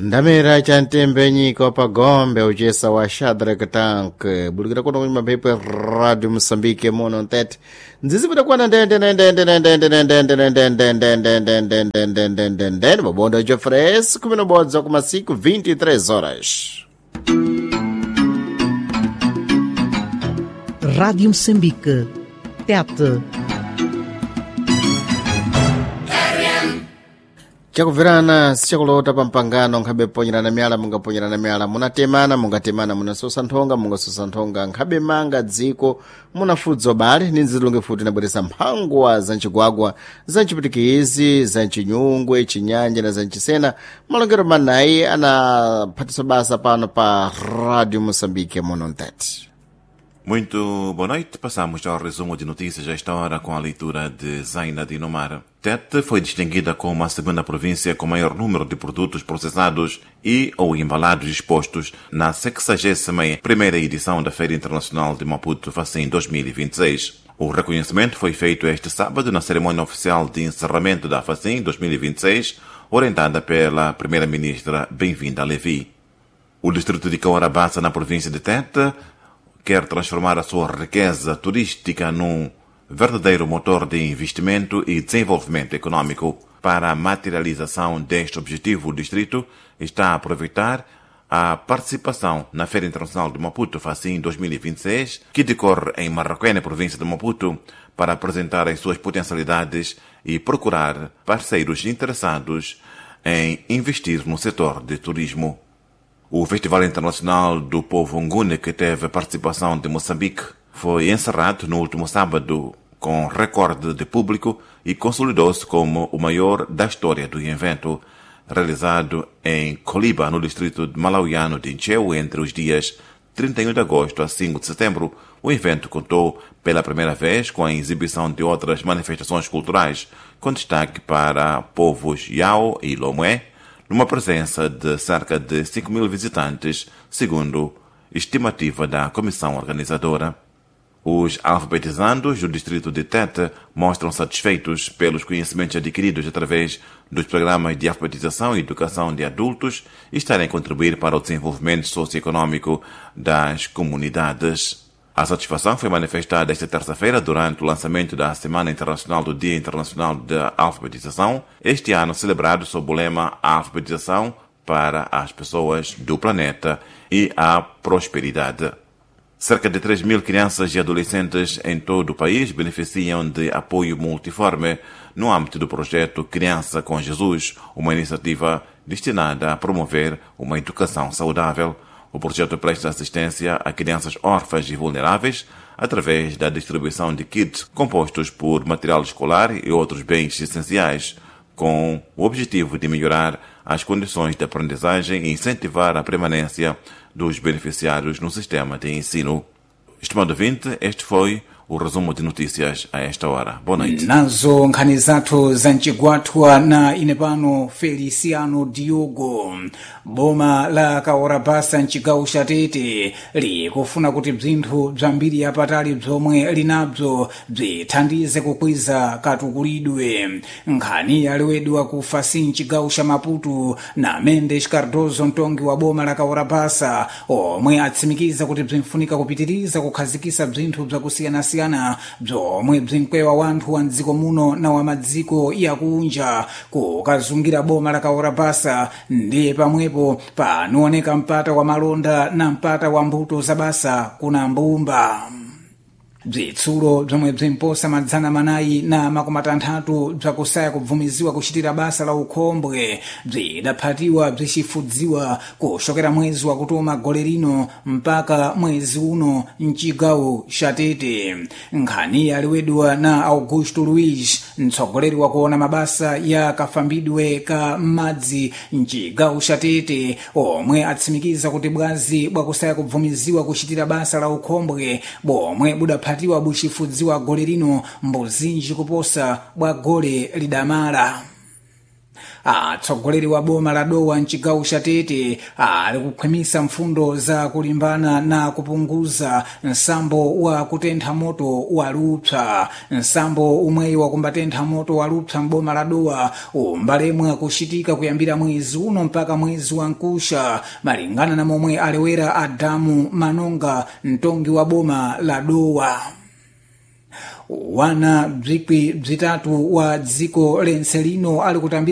Ndamera cha ntembe nyika pagombe uchesa wa Shadrack Tank bulikira kuno kunyuma mphepo ya Radio Mosambike mono ntete nzizipita kwana ndende ndende ndende ndende ndende ndende ndende ndende ndende ndende ndende ndende mabondo jofres kumi na bodza kumasiku 23 horas. Rádio Moçambique. Tete. Chakubverana sichakulota pa mpangano nkhabe ponyerana miyala mungaponyerana miyala, munatemana mungatemana, munasosa nthonga mungasosa nthonga, nkhabe manga dziko munafudza ubale ni nzilunge futi nabweresa mphangwa za ncigwagwa, za ncipitikizi, za ncinyungwe, cinyanja na za ncisena. Malongero manayi anaphatiswa basa pano pa Radio Moçambique muno mtete. Muito boa noite. Passamos ao resumo de notícias a esta hora com a leitura de Zaina Dinomar. Tete foi distinguida como a segunda província com maior número de produtos processados e ou embalados expostos na 61ª edição da Feira Internacional de Maputo, Facim 2026. O reconhecimento foi feito este sábado na cerimônia oficial de encerramento da Facim 2026, orientada pela primeira-ministra Benvinda Levi. O distrito de Cahora Bassa, na província de Tete, quer transformar a sua riqueza turística num verdadeiro motor de investimento e desenvolvimento econômico. Para a materialização deste objetivo, o distrito está a aproveitar a participação na Feira Internacional de Maputo, Facim 2026, que decorre em Marraquém, na província de Maputo, para apresentar as suas potencialidades e procurar parceiros interessados em investir no setor de turismo. O Festival Internacional do Povo Nguni, que teve a participação de Moçambique, foi encerrado no último sábado com recorde de público e consolidou-se como o maior da história do evento, realizado em Coliba, no distrito malauiano de Incheu, entre os dias 31 de agosto a 5 de setembro. O evento contou pela primeira vez com a exibição de outras manifestações culturais, com destaque para povos Yao e Lomé, numa presença de cerca de 5 mil visitantes, segundo estimativa da comissão organizadora. Os alfabetizandos do distrito de Tete mostram satisfeitos pelos conhecimentos adquiridos através dos programas de alfabetização e educação de adultos e estarem a contribuir para o desenvolvimento socioeconômico das comunidades. A satisfação foi manifestada esta terça-feira durante o lançamento da Semana Internacional do Dia Internacional da Alfabetização, este ano celebrado sob o lema A Alfabetização para as Pessoas do Planeta e a Prosperidade. Cerca de 3 mil crianças e adolescentes em todo o país beneficiam de apoio multiforme no âmbito do projeto Criança com Jesus, uma iniciativa destinada a promover uma educação saudável. O projeto presta assistência a crianças órfãs e vulneráveis através da distribuição de kits compostos por material escolar e outros bens essenciais, com o objetivo de melhorar as condições de aprendizagem e incentivar a permanência dos beneficiários no sistema de ensino. Estimado ouvinte, este foi o resumo de notícias a esta hora. Boa noite. Nazo nkhani zathu zamchigwathwa na ine pano Feliciano Diogo. Boma la Kaorabasa mchigawo cha Tete likufuna kuti bzinthu bzambiri yapatali bzomwe linabzo bzithandize kukwiza katukulidwe. Nkhani yalewedwa ku Fasi mchigawo cha Maputo na Mendes Cardozo, mtongi wa boma la Kaorabasa, omwe atsimikiza kuti bzinfunika kupitiriza kukhazikisa bzinthu bzakusiyanasiyana bzomwe bzinkwewa wanthu wa mdziko muno na wa madziko yakunja kukazungira boma la Kaorabasa. Ndiye pamwepo panooneka mpata wa malonda na mpata wa mbuto za basa kuna mbumba. Bzitsulo bzomwe bzimposa 406 bzakusaya kubvumiziwa kuchitira basa la ukhombwe bzidaphatiwa bzichifudziwa kuchokera mwezi wakutoma gole lino mpaka mwezi uno mchigawo cha Tete. Nkhani yalewedwa na Augusto Luiz, mtsogoleri wakuona mabasa ya kafambidwe ka madzi mchigawo cha Tete, omwe atsimikiza kuti bwazi bwakusaya kubvumiziwa kuchitira basa la ukhombwe bomwe budaphatiwa buchifudziwa gole lino mbuzinji kuposa bwa gole lidamala. Atsogoleri wa boma la Dowa mchigawo cha Tete ali kukhwimisa mfundo za kulimbana na kupunguza nsambo wa kutentha moto wa lupsa. Nsambo umweyi wakumbatentha moto wa lupsa m'boma la Dowa umbalemwa kuchitika kuyambira mwezi uno mpaka mwezi wa nkusha, malingana na momwe alewera Adamu Manonga, mtongi wa boma la Dowa. Wana bzikwi bzitatu wa dziko lense lino ali kutambira